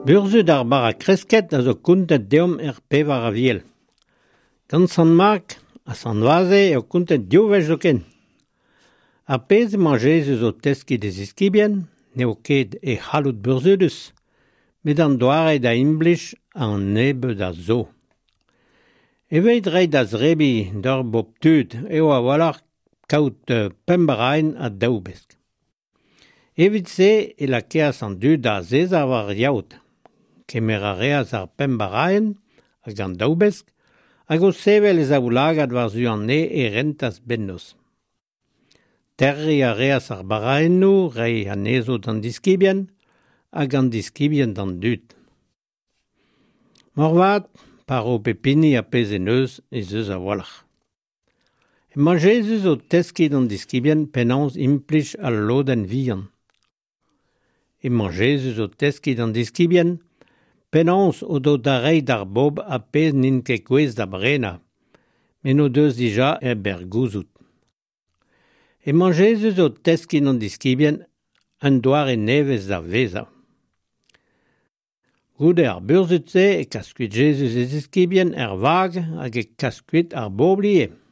Burzhud ar bara kresket a zo kontet deomp er pevar aviel. Gant Sant Mark ha Sant Vaze eo kontet div wech zoken. Ar pezh emañ Jezuz o teskiñ d'e ziskibien n'eo ket e c'halloud burzhudus, met an doare da implij an nebeud a zo. Evit reiñ da zebriñ d'ur bobl tud eo a-walc'h kaout pemp baraenn ha daou besk. Evit se e lakaas an dud da azezañ war ar yaod. Kemer a reas ar pemp baraenn hag an daou besk hag o sevel e zaoulagad war-zu an neñv e rentas bennozh. Terriñ a reas ar baraennoù, reiñ anezho d'an diskibien hag an diskibien d'an dud. Moarvat, pa ro pep hini ar pezh en deus ez eus a-walc'h. Emañ Jezuz o teskiñ d'an diskibien penaos implij al lodenn vihan. Emañ Jezuz o teskiñ d'an diskibien penaos o do da reiñ d'ar bobl ar pezh n'int ket gouest da brenañ, met n'o deus dija hep er gouzout. Emañ Jezuz o teskiñ d'an diskibien un doare nevez da vezañ. Goude ar burzhud-se e kas kuit Jezuz e ziskibien er vag hag e kas kuit ar bobl ivez.